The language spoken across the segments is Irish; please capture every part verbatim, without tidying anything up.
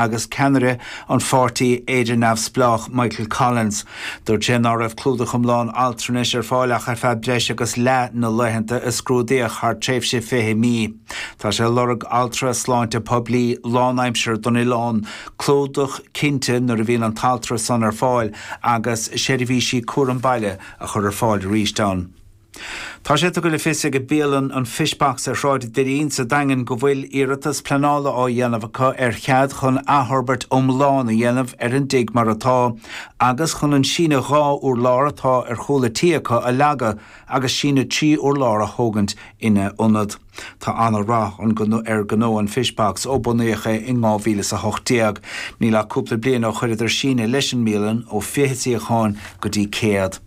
agus ceannaire an pháirtí Éire Neamhspleách Michael Collins. Dúirt sé ná raibh clúdach iomlán altranais ar fáil ach ar feadh breis agus leath na laethanta a scrúdaíodh thar tréimhse fiche mí. Tá sé ag lorg altra sláinte poiblí lánaimseartha don oileán, clúdach cinnte nuair a bhíonn an t-altra san ar fáil agus seirbhísí cúram baile a chur ar fáil arís ann. Tá sé tugtha le fios ag bialann an Fishbox ar Shráid an Doirín sa Daingean go bhfuil iarratas pleanála á dhéanamh acu ar chead chun athfhorbairt iomlán a dhéanamh ar an dtigh mar atá, agus chun an síneadh dhá urlár atá ar chúl an tí acu a leagadh agus síneadh trí urlár a thógaint ina ionad. Tá an-rath ar ghnó an Fishbox ó bunaíodh é in dhá mhíle is a hocht déag. Níl ach cúpla bliain ó chuireadar síneadh leis an mbialann ó fiche suíochán go dtí céad.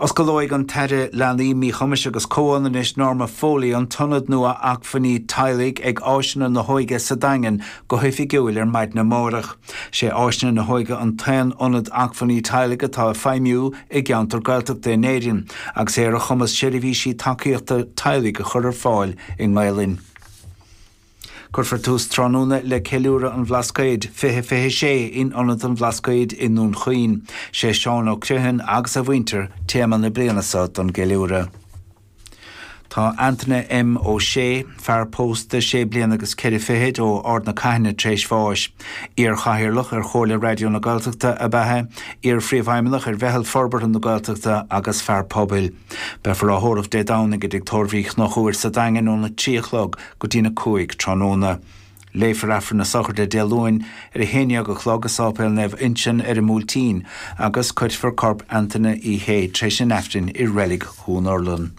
Osclóidh an tAire Leanaí, Míchumais agus Comhionannais Norma Foley an t-ionad nua acmhainní teaghlaigh ag Áiseanna na hÓige sa Daingean go hoifigiúil ar maidin amárach. Sé Áiseanna na hÓige an t-aon ionad acmhainní teaghlaigh atá ag feidhmiú i gceantar Gaeltachta in Éirinn agus é ar a chumas seirbhísí tacaíochta teaghlaigh a chur ar fáil i nGaelainn. Cuirfear tús tráthnóna le Ceiliúradh an Bhlascaoid fiche fiche sé in Ionad an Bhlascaoid i nDún Chaoin. Sé Seán Ó Criomhthain agus a mhuintir téama na bliana seo don gceiliúradh. Tá Antaine M. Ó Sé, fear pósta sé bliana agus ceithre fichid ó Ard na Caithne tar éis bháis. Iar-chathaoirleach ar Chomhairle Raidió na Gaeltachta ab ea é, iar-phríomhfheidhmeannach ar Mheitheal Forbartha na Gaeltachta agus fear pobail. Beifear á thórramh Dé Domhnaigh i dTigh Tórraimh Uí Chonchúir sa Daingean óna trí a chlog go dtína cúig tráthnóna. Léifear Aifreann na Sochraide Dé Luain ar a haon dhéag a chlog i Sáipéal Naomh Uinseann ar an mBuailtín agus cuirfear corp Antaine Uí Shé tar éis an Aifrinn i Reilig Dhún Urlann.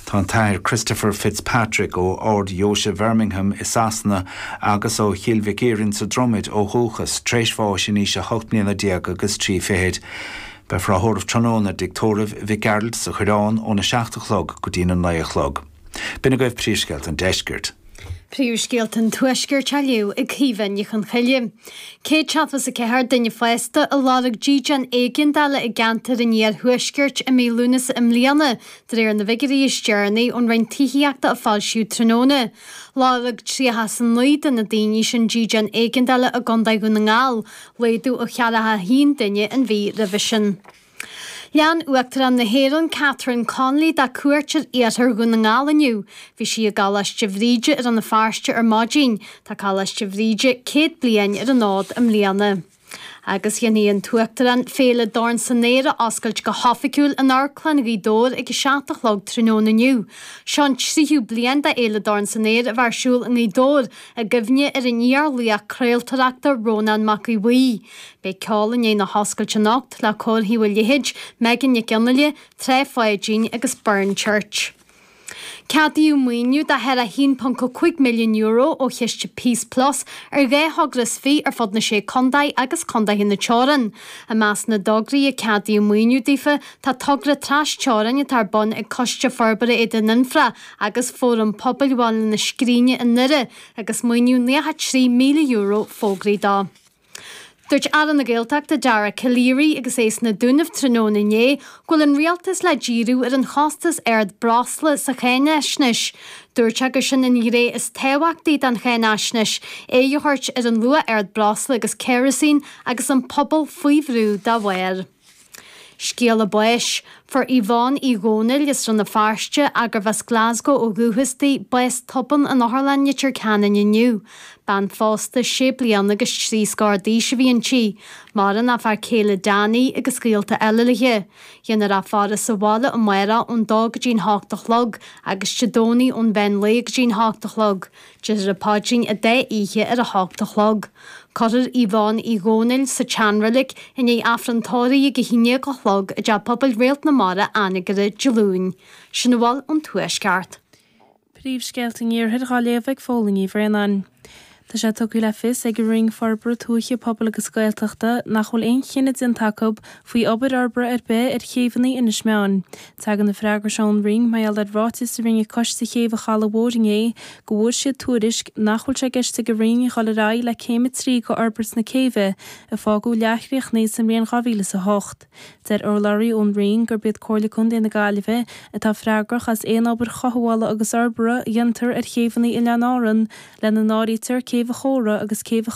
Tá an tAthair Christopher Fitzpatrick ó Ard-Dheoise Bhirmingham i Sasana agus ó Chill Mhic Iarainn sa Dromaid ó dhúchas tar éis bháis in aois a hocht mbliana déag agus trí fichid. Beifear á thórramh tráthnóna i dTigh Tórraimh Mhic Gearailt sa Choireán óna seacht a chlog go dtína naoi a chlog. B'in agaibh príomhscéalta an deiscirt. Príomhscéalta an Tuaiscirt á léamh ag Caoimhe Ní Chonchoille. Céad seachtó is a ceathair duine fásta a lorg dídean éigeandála i gceantar an Iarthuaiscirt i mí Lúnasa i mbliana, de réir na bhfigiúirí is deireanaí ón Roinn Tithíochta a foilsíodh tráthnóna. Lorg tríocha is a naoi de na daoine sin dídean éigeandála i gContae Dhún na nGall, laghdú ó cheathracha a haon duine an mhí roimhe sin. Lean Uachtarán na hÉireann Catherine Connolly dá cuairt ar iarthar Dhún na nGall inniu. Bhí sí i gColáiste Bhríde i Rann na Feirste ar maidin. Tá Coláiste Bhríde céad bliain ar an fhód i mbliana. Agus dhéanfaidh an tUachtarán Féile Dorn san Aer a oscailt go hoifigiúil in Amharclann Ghaoth Dobhair ag a seacht a chlog tráthnóna inniu. Seo an tríú bliain do Fhéile Dorn san Aer a bheith ar siúl i nGaoth Dobhair i gcuimhne ar an iar-laoch craoltóireachta Rónán Mac Aodha Bhuí. Beidh ceol i ndiaidh na hoscailte anocht le Cór Thaobh an Leithéid, Megan Nic Fhionnghaile, Trá Pháidín agus Burren Church. Ceadaíodh maoiniú de thar a haon ponc cúig milliún euro ó chiste Peace Plus ar dhá thogra is fiche ar fud na sé contae agus contaetha na teorann. I measc na dtograí a ceadaíodh maoiniú daofa tá togra trasteorann atá ar bun ag Coiste Forbartha Éadan Anfra agus Fóram Pobail Bhaile na Scríne i nDoire agus maoiniú nócha trí míle euro fógraithe dó. Dúirt Aire na Gaeltachta Dara Calleary agus é sna Dúnaibh tráthnóna inné go bhfuil an rialtas le díriú ar an chostas ard breosla sa cháinaisnéis. Dúirt sé gur sin an ghné is tábhachtaí den cháinaisnéis, aghaidh a thabhairt ar an luach ard breosla agus kerosene agus an pobal faoi bhrú dá bharr. Scéala báis. Fuair Yvonne Uí Dhónaill as Rann na Feirste, gurbh as Glasgow ó dhúchas di, bás tobann in Otharlann Leitir Ceanainn inniu. Bean phósta sé bliana agus trí scór d'aois a bhí inti. Maireann a fear céile Danny agus gaolta eile léi. Déanfar a faire sa bhaile amárach ón dó go dtí'n hocht a chlog agus Dé Domhnaigh ón mheán lae go dtí'n hocht a chlog. Déarfar an paidrín an dá oíche ar a hocht a chlog. Cuirfear Yvonne Uí Dhónaill sa tseanreilig i ndiaidh Aifreann tórraimh ag a haon déag a chlog i dTeach Pobail Réalt na Mara Anagaire Dé Luain. Sin a bhfuil ón Tuaisceart. Príomhscéalta an Iarthair á léamh ag Fódhla Ní Bhraonáin. Tá sé tugtha le fios ag an Roinn Forbartha Tuaithe, Pobail agus Gaeltachta nach bhfuil aon chinneadh déanta acu faoi obair fhorbartha ar bith ar chéibheanna Inis Meáin. Tagann an freagra seo ón Roinn mar gheall ar ráiteas a rinne Coiste Chéibh an Chalaidh Mhóir inné go bhfuair siad tuairisc nach bhfuil sé i gceist ag an Roinn dhul ar aghaidh le céim a trí de fhorbairt na céibhe a fágadh leathchríochnaithe sa mbliain dhá mhíle is a hocht. Deir urlabhraí ón Roinn gurb iad Comhairle Contae na Gaillimhe atá freagrach as aon obair chothabhála agus fhorbartha a dhéantar ar chéibheanna Oileáin Árann, lena n-áirítear céibh Céibh an Chóra agus Céibh an